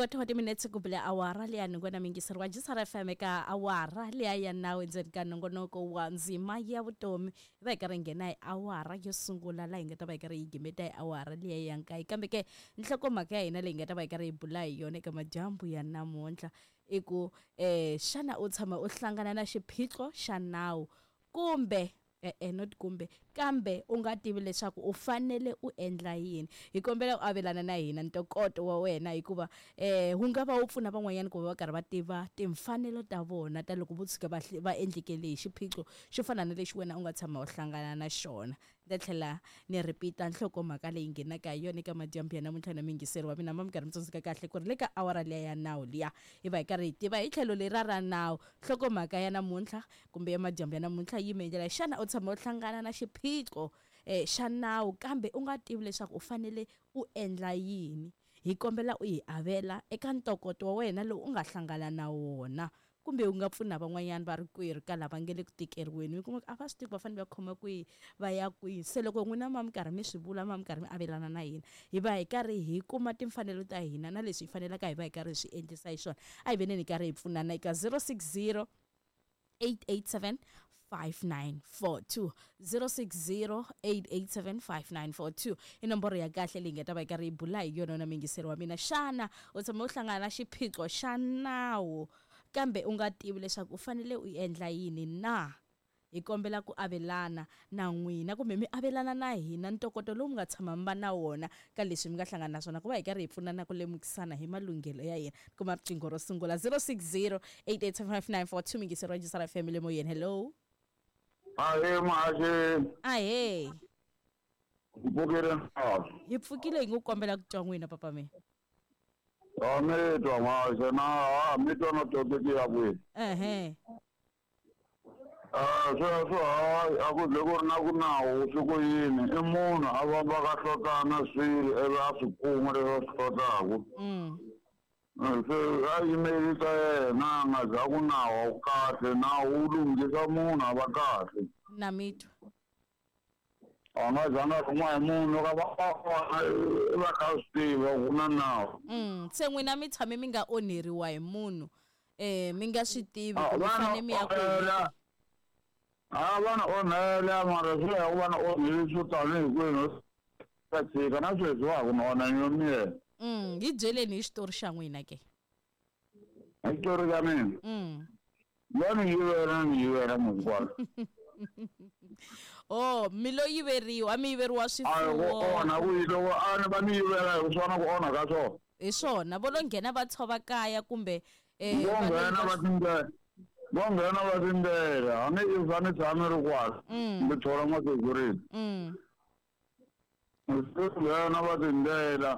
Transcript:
Kota wa timinetse ku bile awara leya nhungu na mingiseri wa Jisara FM eka awara leya ya nawu endzeni ka nongonoko wa ndzima ya vutomi. Hi va hi karhi hi nghena hi awara yo sungula laha hi nga ta va hi karhi hi gimeta hi awara liya ya nkaye. Kambe ke nhlokomhaka ya hina leyi hi nga ta va hi karhi hi bula hi yona eka madyambu ya namuntlha i ku xana u tshama u hlangana na xiphiqo xa nawu kumbe E-e, not kumbe, kambe u nga tivi leswaku u fanele u endla yini. Hi kombela u avelana na hina ntokoto wa wena hikuva wu nga va wu pfuna van'wanyana ku va va karhi va tiva timfanelo ta vona ta loko vo tshuka va va endlekele hi xiphiqo xo fana na lexi wena u nga tshama u hlangana na xona. Ni ta tlhela ni repeat-a nhlokomhaka leyi nghenaka hi yona eka madyambu ya namuntlha na muyingiseri wa mina, ma mi karhi mi tsundzuka kahle ku ri le ka awara liya ya nawu liya hi va hi karhi hi tiva hi tlhelo leriya ra nawu. Nhlokomhaka ya namuntlha kumbe ya madyambu ya namuntlha yi yime hi ndlela xana u tshama u hlangana na xiphiqo um xa nawu kambe u nga tivi leswaku u fanele u endla yini? Hi kombela u hi avela eka ntokoto wa wena lowu u nga hlangana na wona kumbe u nga pfuna van'wanyana va rikwerhu ka lava nge le ku tikeriweni. Mi kuma ku a va swi tivi ku va fanele va khoma kwihi va ya kwihi. Se loko n'wina ma mi karhi mi swi vula ma mi karhi mi avelana na hina hi va hi karhi hi kuma timfanelo ta hina na leswi hi fanelaka hi va hi karhi hi swi endlisa hi swona. A hi veneni hi karhi hi pfunana eka 060 887 5942 060 887 5942 i nomboro ya kahle leyi nga ta va yi karhi yi bula hi yona na mingiseri wa mina. Xana u tshame u hlangana na xiphiqo xa nawu kambe u nga tivi leswaku u fanele u endla yini na? Hi kombela ku avelana na n'wina kumbe mi avelana na hina ntokoto lowu mi nga tshama mi va na wona ka leswi mi nga hlangana na swona ku va hi karhi hi pfunana ku lemukisana hi malunghelo ya hina. Kuma riqingho ro sungula 060 8875942 mingiseri wa Jisara FM le moyeni. Hello. Ahee muhaxi. Ahee. Hi pfukile na? Hi pfukile hi ngo kombela ku twa n'wina papa mina. A mi twa muhaxi na ha mi twa na topic ya kwihi? Ehe. Sweswo hayi a ku ze ku ri na ku nawu swi ku yini i munhu a fambaka a hlotana swilo ivi a swi kuma leswi a swi hlotaku. Se a yimeli ta yena a nga za ku nawu a wu kahle nawu wu lunghisa munhu a va kahle. Na mi twa. A nga zanga a rhumiwa hi munhu loko a va a kona i va a kha a swi tiva ku na nawu. Se n'wina mi tshame mi nga onheriwa hi munhu mi nga swi tivi ku mi fanele mi ya kwihi? A va ni onhela mara swi ya ku va ni onhile swo tanihi kwini ta tshika na sweswi wa ha ku ni onha ni yo miyela. Hi byeleni hi xitori xa n'wina ke. Hi xitori xa mina? Va ni yivela ni yivela hinkwaswo. Oh, mi lo yiveriwa, a mi yiveriwa A hi ku swifuwo. onha ku yi loko a ni va ni yivela hi swona ku onha ka swona. Hi swona, vo lo nghena va tshova kaya kumbe Vo va lo nghena yiva va tindlela, vo nghena va tindlela, a ni if a ni tshami ri kwala, ni thola ma security. Se nghena va tindlela.